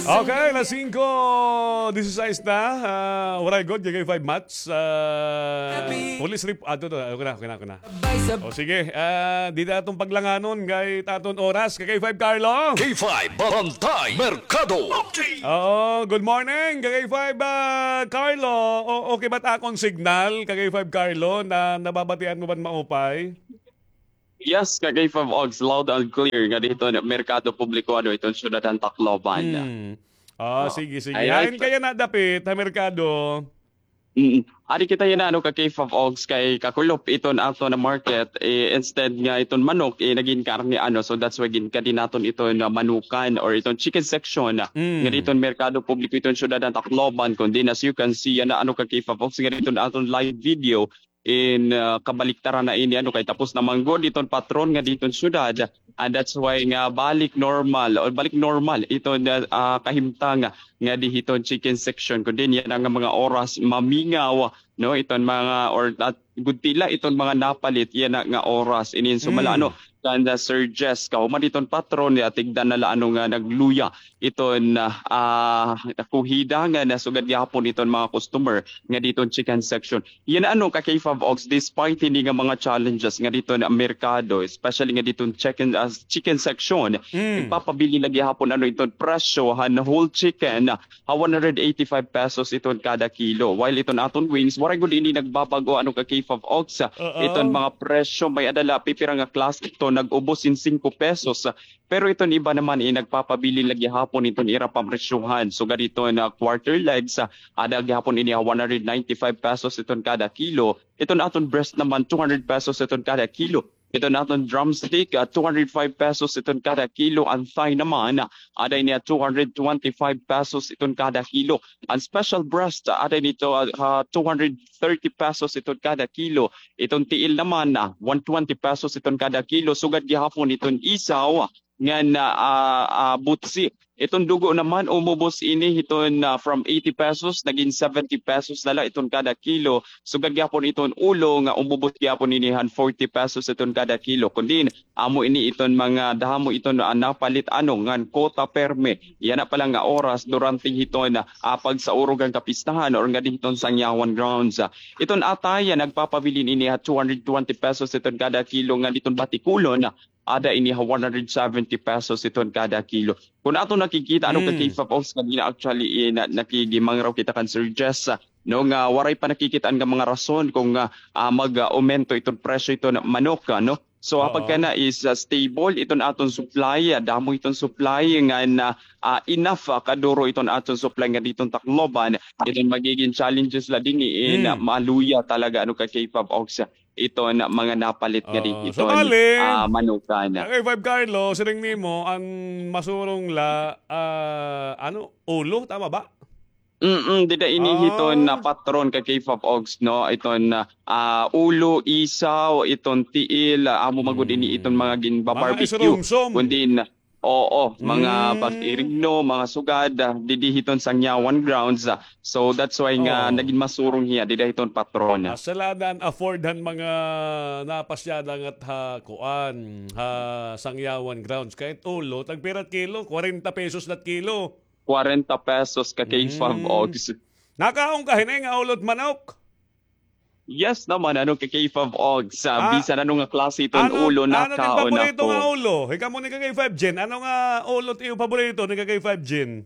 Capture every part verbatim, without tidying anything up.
Okay, alas singko disisais na. Ah, waray gud, K K five Mats. Ah, police rep-, ah, ito, ito. Okay na, okay na, okay na. O sige, ah, di na aton paglanganon kay aton oras. K K five Carlo. K five Barangay Merkado. Oo, good morning, K K five, ah, Carlo. O, okay ba ta akon signal, K K five Carlo, na nababatian mo ba maupay? Yes, K K five Ogs, loud and clear nga dito, Merkado Publiko, ano, iton syudad han Tacloban. Hmm. Ah, sige, sige. Hain kaya nadapit ha merkado? Mm. Adi kita yana, ano, K K five Ogs, kay kakulop iton aton market, eh, instead nga iton manok, eh, nagin karne, ano, so that's why ginkadi naton iton manukan or iton chicken section nga diton Merkado Publiko iton syudad han Tacloban, kundi as you can see yana, ano, K K five Ogs, nga diton aton live video, in, ah, kabaliktaran na ini, ano, kay tapos na man gud iton patron nga diton syudad. And that's why nga balik normal, o balik normal iton, ah, kahimtang nga di hiton chicken section. Kundi yana nga mga oras mamingaw, no, iton mga, or at gud tila iton mga napalit yana nga oras. Inin sumala, ano, kan, ah, Sir Jess, kahuman diton patron, ya, tigda na la, ano, nga nagluya iton, ah, ah, kuhida nga nasugad gihapon iton mga customer nga diton chicken section. Yana, ano, ka K five Ogs, despite ini nga mga challenges nga diton merkado, especially nga diton chicken, ah, chicken section, nagpapabilin la gihapon, ano, iton presyo han whole chicken, ah, ha one hundred eighty-five pesos iton kada kilo. While iton aton wings, waray gud ini nagbabag-o, ano, ka K five Ogs, ah, iton mga presyo, may-ada la pipira nga klase iton nag-ubos hin singko pesos, ah, pero iton iba naman, eh, nagpapabilin la gihapon iton ira pamresyohan. Sugad iton quarter legs, ah, ada gihapon ini ha one hundred ninety-five pesos iton kada kilo. Iton aton breast naman, two hundred pesos iton kada kilo. Iton aton drumstick, ah, two hundred five pesos iton kada kilo. An thigh naman, ah, ada ini ha two hundred twenty-five pesos iton kada kilo. An special breast, ah, ada ini to, ah, ha two hundred thirty pesos iton kada kilo. Iton tiil naman, ah, one twenty pesos iton kada kilo. Sugad gihapon iton isaw, ngan, ah, ah, ah, butsi. Iton dugo naman, umubos ini hiton, ah, from eighty pesos, nagin seventy pesos na la iton kada kilo. Sugad gihapon iton ulo, nga umubos gihapon ini han forty pesos iton kada kilo. Kundi, amo ini iton mga damo iton, ah, napalit, ano, ngan kota permi. Yana pa la nga oras, durante hiton, ah, pagsaurog han kapistahan, or nga diton sangyawan grounds. Ah, iton atay, ah, nagpapabilin ini ha two hundred twenty pesos iton kada kilo, ngan diton batikulon, ah, ada ini ha one hundred seventy pesos iton kada kilo. Kon aton nakikita, ano, ka K five Ogs, kanina actually, eh, na-, nakigimangraw kita kan Sir Jess, ah, no, nga waray pa nakikita-an nga mga rason kon, ah, ah, mag-aumento iton presyo iton manok, ah, no? So, ha pagkana is, ah, stable iton aton supply, ah, damo iton supply ngan, ah, ah, enough, ah, kaduro iton aton supply nga diton Tacloban. Iton magigin challenges la dinhi, eh, na maluya talaga, ano, ka K five Ogs, iton mga napalit nga di iton, ah, manukan. K five Carlo, siring nimo, an masurong la, ah, ano, ulo, tama ba? Mm, dida ini hiton na patron ka K five Ogs, no? Iton, ah, ulo, isaw, iton tiil, ah, amo man gud ini iton mga ginba-barbecue. Kundi na, oo, mga bag-irigno, mga sugad, ah, didi hiton sangyawan grounds, ah. So that's why nga nagin masurong hiya dida hiton patron. Asa la an afford han mga napasyada ngat ha kuan, ha sangyawan grounds. Kay it ulo, tagpira it kilo? Kwarenta pesos la it kilo. Kwarenta pesos ka K five Ogs. Nakaon ka hini nga ulo it manok? Yes naman, ano, ka K five Ogs. Bisan ano nga klase iton ulo, nakaon ako. Ano it paborito nga ulo? Ikaw mo ni ka K five Jin. Ano nga ulo it iyo paborito ni ka K five Jin?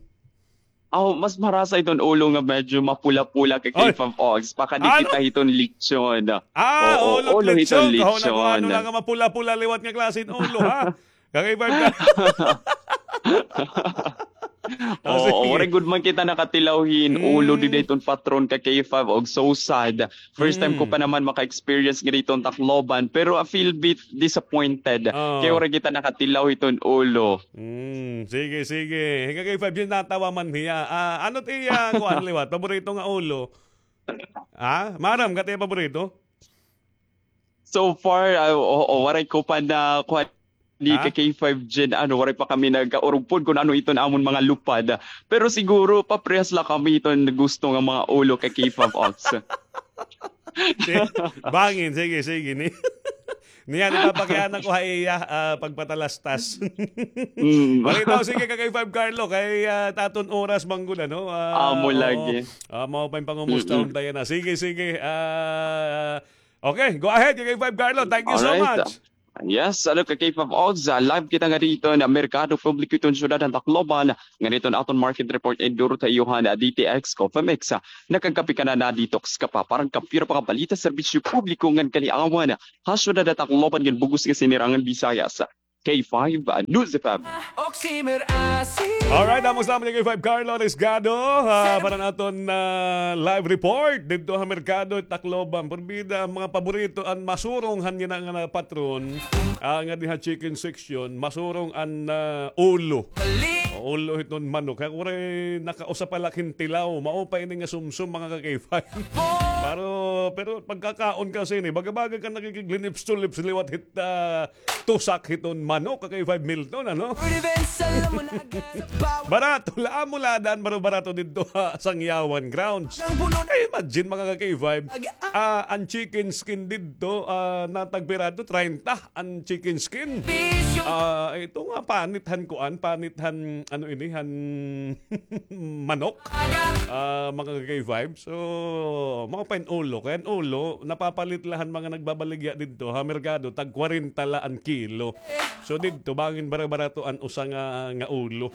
Aw, mas marasa iton ulo nga medyo mapula-pula ka K five Ogs. Pakadi kita hiton lechon. Ah, ulo hiton lechon. Kahon ako ano la nga mapula-pula liwat nga klase hin ulo, ha? Ka K five ka. Oo, waray gud man kita nakatilaw hin ulo dida hiton patron ka K five Ogs, so sad. First time ko pa naman maka-experience nga dida hiton Tacloban, pero I feel bit disappointed. Kay waray kita nakatilaw hiton ulo. Mm, sige, sige. Ka K five Jin, natawa man hiya. Ah, ano it iya, kuan liwat, paborito nga ulo? Ha? Maaram ka it iya paborito? So far, ah, oo, waray ko pa na, kuan, ni ka K five Jin, ano, waray pa kami nagkaurog pod kon ano iton amon mga lupad. Pero siguro, paparehas la kami iton gusto nga mga ulo ka K five Ogs. Bangin, sige, sige, ni. Niyan, ipapakiana ko ha iya, ah, pagpatalastas. Mm. Balitaw, sige, ka K five Carlo, kay, ah, aton oras man gud, ano? Ah, amo lagi. Ah, mao pa in pangumusta, mm-mm, unta yana. Sige, sige. Ah, okay, go ahead, ka K five Carlo. Thank you so much. Alright. Yes, ano, ka K five Ogs, ah, live kita ngadi hiton merkado publiko hiton syudad han Tacloban, ngadi hiton aton market report, enduro ta iyo han, ah, D T X Coffee Mix, ah, nakagkape ka na, na-detox ka pa, para han kape, para mga balita, serbisyo publiko ngan kaliawan, ah, ha syudad han Tacloban ngan bug-os nga sinirangan Visayas. K five, ah, News F M. Alright, amo salamat kay K five Carlo Risgado, ah, para han aton, ah, live report didto ha merkado Tacloban. Porbida, an mga paborito, an masurong han yana nga patron, ah, ngadi ha chicken section, masurong an, ah, ulo. Ulo hiton manok. Kay ako ray nakausa pa la hin tilaw. Mao pa ini nga sumsum, mga ka K five. Pero, pero pagkakaon kasi ini, baga-baga ka nakikig-lips-to-lips liwat hit, ah, tusak hiton manok, ka K five Milton, ano? Barato la, amo la daan, baro-barato didto ha Sangyawan Grounds. Ay, imagine, mga ka K five, ah, an chicken skin didto, ah, natagpira didto, treinta an chicken skin. Ah, ito nga, panit han kuan, panit han, ano ini, han manok. Ah, mga ka K five. So, mao pa in ulo. Kay an ulo, napapalit la han mga nagbabaligya didto ha merkado, tag kwarenta la an kilo. So, didto, bangin bara-barato an usa nga, nga ulo.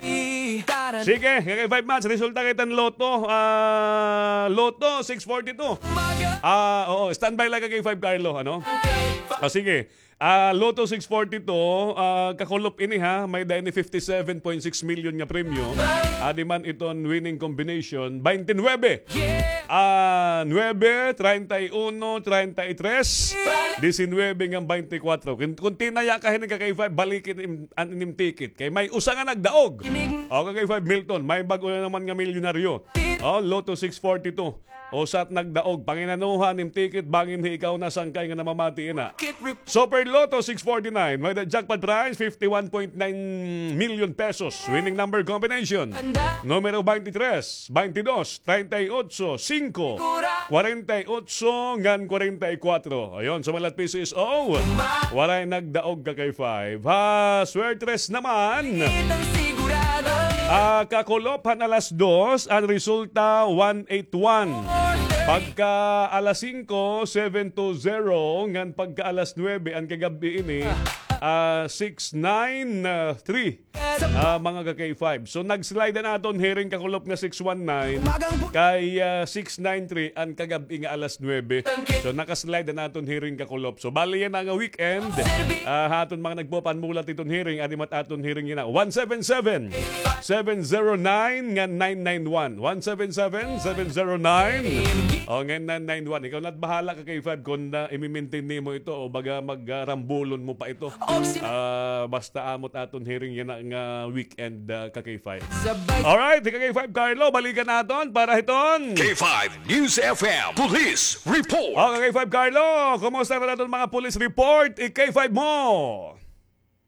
Sige, ka K five Mats, resulta kay tan Lotto. Ah, Lotto six forty-two. Ah, oo, standby lang ka K five Carlo, ano? Ah, sige. Ah, Lotto six forty-two, ah, kakulop ini ha, may-ada ini fifty-seven point six million nga premyo. Adi man iton winning combination, twenty-nine. Ah, nuebe, treinta y uno, treinta y tres, diecinuebe ngan twenty-cuatro. Kun, kun tinaya ka hini ka K five, balikin im-, an inyong ticket. Kay may usa nga nagdaog. O, ka K five Milton, may bag-o na naman nga milyonaryo. O, Lotto six forty-two. Usa it nagdaog, panginanuha nim ticket, bangin hi ikaw na sangkay nga namamati ina. Super Lotto six forty-nine, may-ada jackpot prize, fifty-one point nine million pesos. Winning number combination, numero twenty-tres, twenty-dos, treinta y ocho, singko, kwarenta y ocho, ngan kwarenta y kuwatro. Ayon, sumalat P C S O. Waray nagdaog ka K five. Ha, swertres naman. Ah, kakulop han alas dos, an resulta, one eight one. Pagka alas singko, seven two zero. Ngan pagka alas nuebe, an kagab-i ini, ah, six nine three. Ah, mga ka K five. So, nag-slide an aton hearing kakulop nga six one nine. Kay, ah, six nine three an kagab-i nga alas nuebe. So, naka-slide an aton hearing kakulop. So, bali yana nga weekend, ah, ha aton mga nagpapanmulat hiton hearing, adi man it aton hearing yana. One seven seven, seven zero nine ngan nine nine one. One seven seven, seven zero nine. O, ngan nine nine one. Ikaw na it bahala ka K five kun, ah, imi-maintain nimo ito o baga mag, ah, rambulon mo pa ito. Ah, basta amo it aton hearing yana nga weekend, ah, ka K five. Alright, ka K five Carlo, balikan naton para hiton K five News F M Police Report. O, ka K five Carlo, kumusta na aton mga police report? I-K five mo.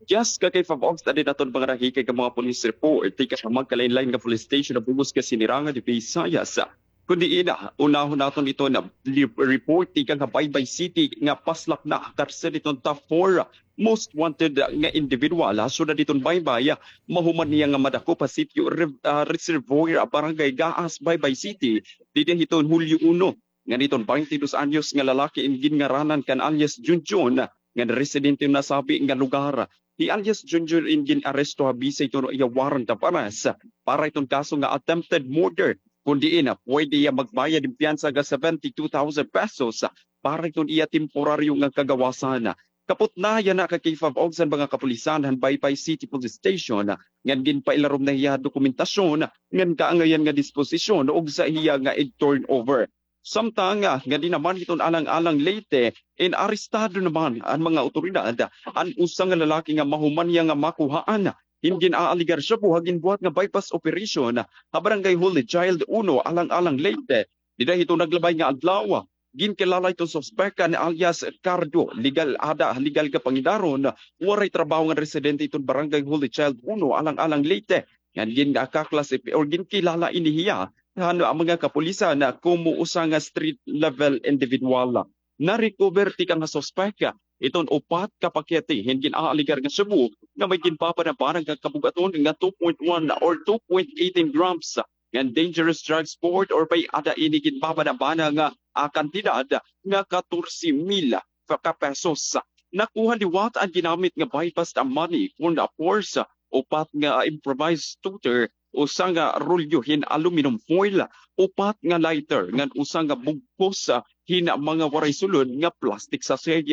Yes, ka K five Ogs, adi na aton mga nahikay nga mga police report tikang ha magkalain-lain nga police station ha bug-os nga sinirangan Visayas. Kundi ina, unahon naton iton li-, report tikang ha Baybay City nga paslak na ha karsel iton top four most wanted nga individual ha syudad hiton Baybay, mahuman hiya nga madakop ha sitio Rev-, ah, Reservoir, Barangay Gaas, Baybay City, dida hiton Hulyo uno, ngan iton baynte dos anyos nga lalaki in ginngaranan kan alias Junjun, ngan residente ha nasabi nga lugar. Hi alias Junjun in gin-aresto ha bisa hiton iya warrant of arrest para hiton kaso nga attempted murder, kun diin puwede hiya magbayad hin piyansa nga seventy-two thousand pesos para hiton iya temporaryo nga kagawasan. Kapot na yana ka K five Ogs an mga kapulisan han Baybay City Police Station, ngan ginpailarom na hiya dokumentasyon ngan kaangayan nga disposisyon ugsa hiya nga ig-turnover. Samtang, ah, ngadi naman hiton Alang-alang Leyte, inarestado naman an mga awtoridad an usa nga lalaki nga mahuman hiya nga makuhaan hin gin-aalegar shabu ha ginbuhat nga buy-bust operation ha Barangay Holy Child uno, Alang-alang Leyte. Dida hiton naglabay nga adlaw, ginkilala hiton suspek nga alias Cardo, legal, ada ha legal nga pangidaron, waray trabaho nga residente hiton Barangay Holy Child uno, Alang-alang Leyte. Ngan gin-, ah, kaklasip-, or ginkilala ini hiya han mga kapulisan komo usa nga street level individual. Na-recover tikang ha suspek iton upat ka pakete hin gin-aaligar nga shabu nga may ginbabanabanag nga kabug-aton nga two point one or two point eighteen grams ngan dangerous drugs, port or may-ada ini ginbabanabanag nga, ah, kantidad nga katorse mil ka pesos. Nakuha liwat an ginamit nga buy-bust money kun purse, upat nga improvised toaster, usa nga rolyo hin aluminum foil, upat nga lighter, ngan usa nga bugkos, ah, hin mga waray sulod nga plastic sachet.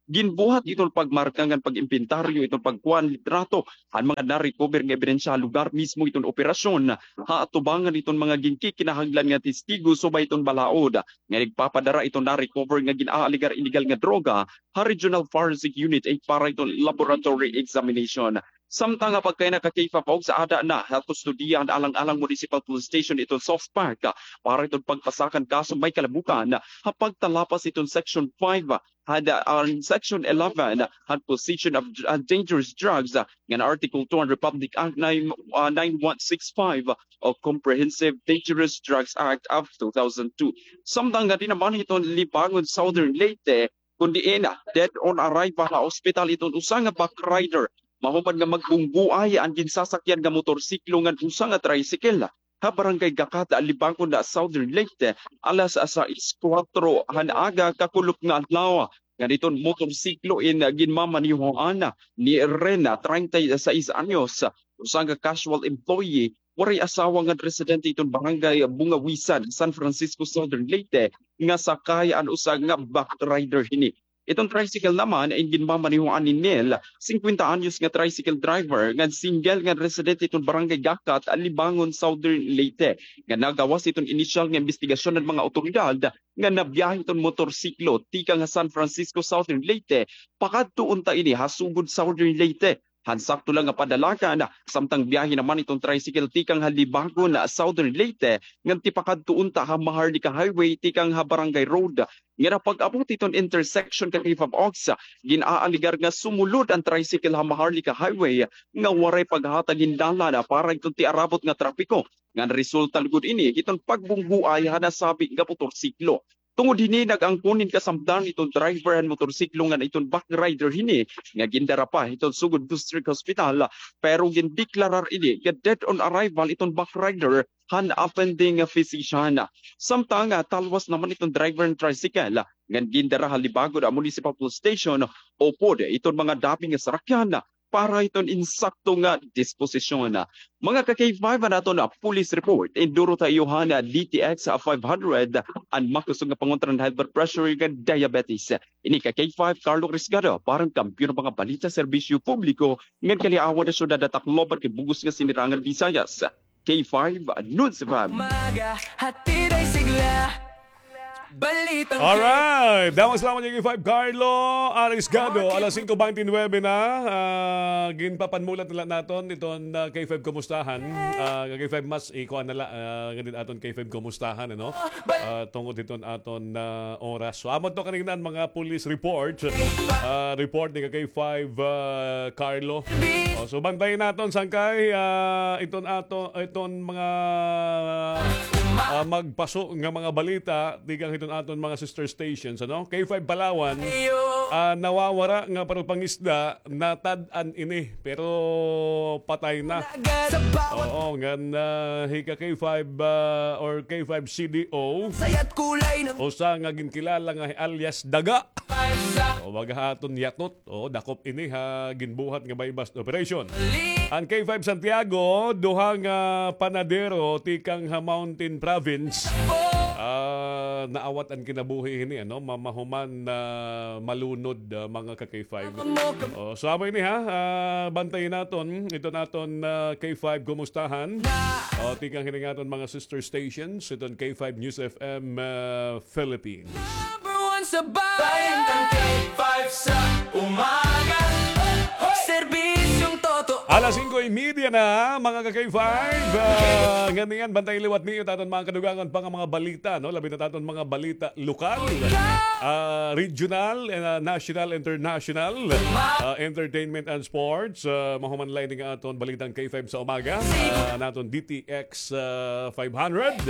Ginbuhat iton pagmarka ngan pag-imbentaryo iton pagkuha hin litrato han mga na-recover nga ebidensya ha lugar mismo iton operasyon, ha atubangan iton mga ginkikinahanglan nga testigo subay iton balaod nga nagpapadara iton na-recover nga gin-aaligar illegal nga droga ha Regional Forensic Unit eight para iton laboratory examination. Samtang ha pagkaina ka K five Ogs, aada na ha kustodiya han Alang-alang Municipal Police Station iton South Park, ah, para iton pagpasakan kaso may kalabutan, ah, ha pagtalapas iton Section five, ah, han, ah, Section eleven, ah, han possession of dr-, ah, dangerous drugs, ah, ngan Article two han Republic Act nine, ah, nine one six five, ah, o Comprehensive Dangerous Drugs Act of two thousand two. Samtang ngadi naman hiton Libangon, Southern Leyte, kun diin, ah, dead on arrival ha ospital iton usa nga backrider mahuman nga magbunggoay an ginsasakyan nga motorsiklo ngan usa nga tricycle ha Barangay Gakat, Libangon, Southern Leyte, alas sais kuwatro han aga kakulop nga adlaw. Ngan iton motorsiklo in ginmamanehoan ni Rena, treinta y seis anyos, usa nga casual employee, waray asawa ngan residente iton Barangay Bungawisan, San Francisco, Southern Leyte, nga sakay an usa nga backrider hini. Iton tricycle naman in ginmamanehoan ni Nel, singkwenta anyos nga tricycle driver, ngan single ngan residente iton Barangay Gakat, Libangon, Southern Leyte, nga nagawas iton inisyal nga imbestigasyon han mga awtoridad nga nabiyahe iton motorsiklo tikang ha San Francisco, Southern Leyte, pakadto unta ini ha Sogod, Southern Leyte. Han sakto la nga padalagan, samtang biyahe naman iton tricycle tikang ha Libangon, Southern Leyte, ngan tipakadto unta ha Maharlika Highway tikang ha Barangay Road. Ngan ha pag-abot hiton intersection ka K five Ogs, gin-aaligar nga sumulod an tricycle ha Maharlika Highway nga waray paghatag hin dalan para hiton tiarabot nga trapiko. Ngan resulta lugod ini hiton pagbunggoay ha nasabi nga motorsiklo. Tungod hini, nag-angkon hin kasamdan iton driver han motorsiklo ngan iton backrider hini nga gindara pa hiton Sogod District Hospital, pero gindeklarar ini nga dead on arrival iton backrider han attending physician. Samtang, ah, talwas naman iton driver han tricycle ngan gindara ha Libangon Municipal Police Station upod iton mga dapi nga sarakyan para hiton insakto nga disposisyon. Mga ka K five, an aton, ah, police report. Induro ta iyo han, ah, D T X, ah, five hundred, an makusog nga pangontra han high blood pressure ngan diabetes. Ini ka K five, Carlo Risgado, para han kampiyon nga mga balita, serbisyo publiko, ngan kaliawan han syudad ha Tacloban kay bug-os nga sinirangan Visayas. K five News F M. Umaga, hatid ay sigla. Balitang Alright. Damo salamat, K five Carlo Arisgado. Alas singko bente nuwebe na. Ah, ginpapanmulat na la naton iton, ah, K five Kumustahan. Ah, K five mas ikuan na la, ah, ngan aton K five Kumustahan, ano? Ah, tungod hiton aton, ah, oras. So, amo to kanina an mga police report. Ah, report ni ka K five, ah, Carlo. Oh, so, bantayan naton sangkay, ah, iton ato, iton mga, ah, magpaso nga mga balita tikang hiton aton mga sister stations, ano? K five Palawan, ah, nawawara nga pagpangisda, natad-an ini, pero patay na. Oo, ngan, ah, hi ka K five, ah, or K five C D O, usa nga ginkilala nga alias Daga. O, baga ha aton yatot. O, dakop ini ha ginbuhat nga buy-bust operation. An K five Santiago, duha nga panadero tikang ha Mountain Province, ah, naawat an kinabuhi hini, ano, ma-, mahuman na malunod, ah, mga ka K five. O, so, amo ini, ha, ah, bantayan naton iton aton, ah, K five Kumustahan. O, tikang hining aton mga sister stations, iton K five News F M, ah, Philippines. Number one sa bayan. Bayan ng K five sa umaga. Serbisyong totoo. Alas Singko y media na, mga ka-K five. Ah, ngan niyan, bantay liwat niyo it aton mga kadugangan pa nga mga balita, no? Labi na it aton mga balita lokal, ah, regional, ah, national, international, ah, entertainment and sports. Ah, mahuman la ini nga aton balitang K five sa umaga. Ah, an aton D T X, ah, five hundred,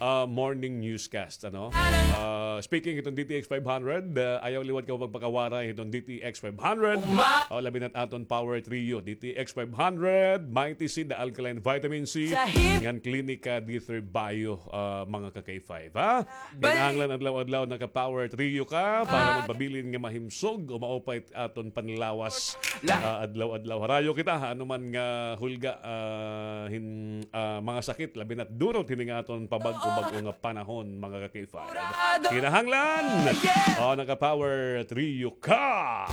ah, morning newscast, ano? Ah, speaking hiton D T X five hundred, ah, ayaw liwat kamo pagpakawaray hiton D T X five hundred. O, labi na it aton Power Trio, D T X five hundred, Mighty C, The Alkaline Vitamin C, ngan Klinika D three Bio, ah, mga ka-K five, ha? Kinahanglan adlaw-adlaw naka-Power Trio ka para magpabilin nga mahimsog o maupay it aton panlawas, ah, adlaw-adlaw. Harayo kita, ha, ano man nga hulga, ah, hin-, ah, mga sakit, labi na it durot hini nga aton pabag-o-bag-o nga panahon, mga ka-K five. Kinahanglan, o, naka-Power Trio ka.